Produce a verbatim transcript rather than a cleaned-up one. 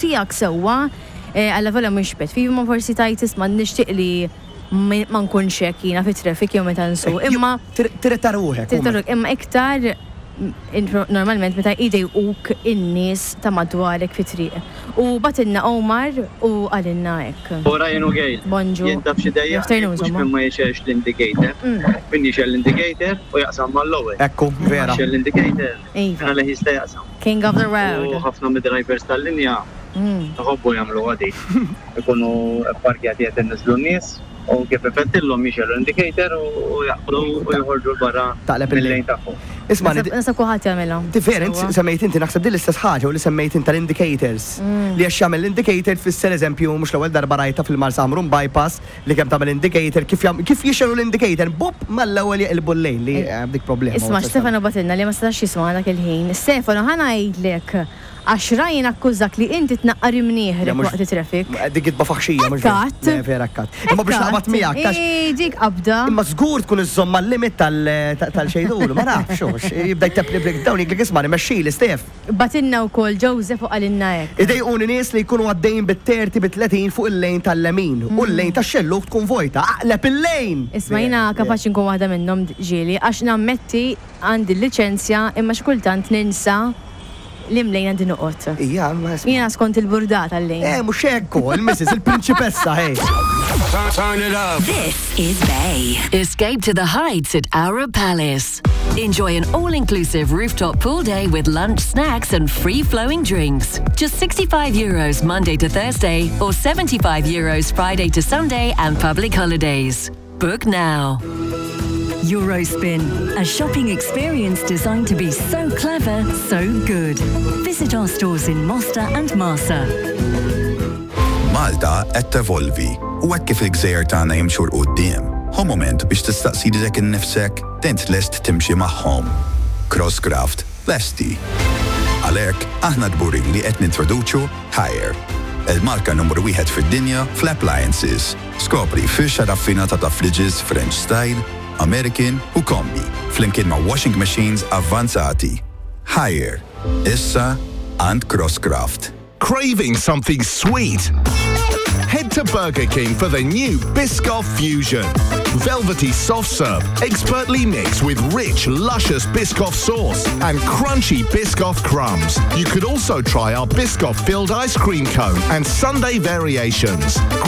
Tiegħek sewwa, eh, għalla vola mhux pet peeve, ma forsi tajt isma' nixtieq li ma ma nkunx hekk jiena fit-traffic jew meta nsuq. Imma Tirrita ruħek. Tirritaruk, imma iktar mm, normalment meta idejquk in-nies ta' madwarek fit-triq. U bagħtilna Omar u qalilna hekk. Ora jenu Gail. Bonġu. Jien taf xi dejja. Afternoon, Mhux insomma. minn ma jixgħelx l-indicator. Mm. Min jixgħel l-indicator u jaqsam mal-ewwel. Ekku, vera. Jixgħel l-indicator. Iva. Għalih jista' jaqsam. King of the U road. ħafna mid-drivers tal-linja Mm. iħobbu jagħmlu għadi. Ikunu parkjati qed inniżlu n-nies u kif ifettillhom jixgħelu l-indicator u jaqbdu u joħorġu l-barra Taqleb il-lejn. mill-lejn tagħhom. Isma' Nasab nasab kulħadd jagħmilha. Different, Sewwa. semmejt inti naħseb din l-istess ħaġa u li semmejt inti tal-indicators. Mm. Li għax jagħmel l-indicator tfisser eżempju mhux l-ewwel darba rajta fil-Marsa Ħamrun bypass li kemm tagħmel indicator kif jam- kif jixgħelu l-indicator bup mal-ewwel jeqilbu l-lejn li eh, dik problema. Isma' Stefano bagħtilna li ma setax jisma' dak il-ħin. Stefano, ħa ngħidlek għax Ryan akkużak li inti tnaqqar imnieħrek waqt it-traffic. Dik gidba faħxija mhux vera. Ekkat. Le, vera ekkat. Imma biex naqbad miegħek tax Ej, dik qabda. Imma żgur tkun iżżomm mal-limit tal-xejdulu, ma nafx, hux, jibda jtepli breakdown jgħidlek isma' nimexxili Stef. Bagħtilna wkoll Joseph u qalilna hekk. Idejquni nies li jkunu għaddejn bit-thirty bit-tletin fuq il-lejn tal-lemin u l-lejn tax-xelluk tkun vojta. Aqleb il-lejn! Isma' jiena kapaċi nkun waħda minnhom ġieli għax nammetti għandi l-liċenzja imma xi kultant ninsa li mlejn għandi noqgħod. Ija, ma isma' Jiena skont il-burdata l-lejn. Eh, mhux hekk, il-missus, il-prinċipessa, hey. Turn it up. This is Bay. Escape to the heights at Arab Palace. Enjoy an all-inclusive rooftop pool day with lunch, snacks and free-flowing drinks. Just sixty-five euros Monday to Thursday or seventy-five euros Friday to Sunday and public holidays. Book now. Eurospin, a shopping experience designed to be so clever, so good. Visit our stores in Mosta and Marsa. Malta qed tevolvi u hekk kif il-gżejjer tagħna jimxu 'l quddiem. Hu moment biex tistaqsi lilek innifsek int lest timxi magħhom. Crosscraft lesti. Għalhekk aħna kburin li qed nintroduċu Haier, il-marka numru wieħed fid-dinja fl-appliances. Skopri firxa raffinata ta' fridges French style, American u Combi, flimkien ma' washing machines avvanzati. Haier, issa għand Crosscraft. Craving something sweet? Head to Burger King for the new Biscoff Fusion. Velvety soft serve, expertly mixed with rich, luscious Biscoff sauce and crunchy Biscoff crumbs. You could also try our Biscoff filled ice cream cone and sundae variations.